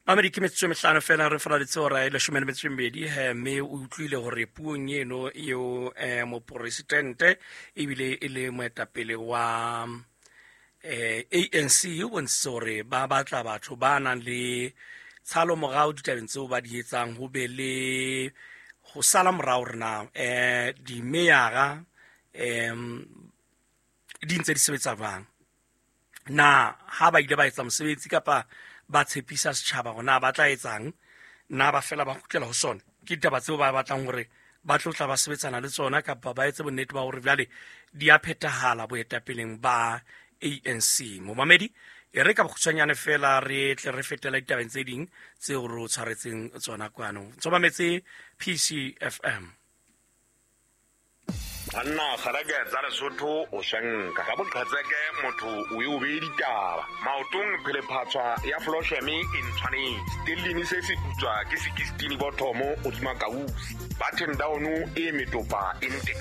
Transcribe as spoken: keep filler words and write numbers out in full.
Mamedi, ke metsotso e mehlano fela re faladitse hora e leshome le metso e mmedi he, mme o utlwile hore puong eno eo eh, moporesidente ebile e le moetapele wa eh, A N C o bontshitse hore ba batla batho ba nang le tshalo morao ditabeng tseo ba di etsang, ho be le ho sala morao hore na eh, dimeyara em di ntse di sebetsa jwang, na ha ba ile ba etsa mosebetsi kapa ba tshepisa setjhaba hore na ba tla etsang, na ba fela ba kgutlela ho sona. Ke ditaba tseo ba batlang hore ba tlo tla ba sebetsana le tsona kapa ba etse bonnete ba hore jwale di a phethahala boetapeleng ba A N C. Momamedi, e re ka bokgutshwanyane fela re tle re fetela ditabeng tse ding tseo re o tshwaretseng tsona kwano. Ntso mametse P C F M. Banna, kgareke tsa Lesotho o swenka ka boqhetseke, motho o e o bee ditaba maotong, phelephatshwa ya flosheme e ntshwanetse stellini se se putswa ke sekistini bothomo godima kausi button down e metopa e nteka.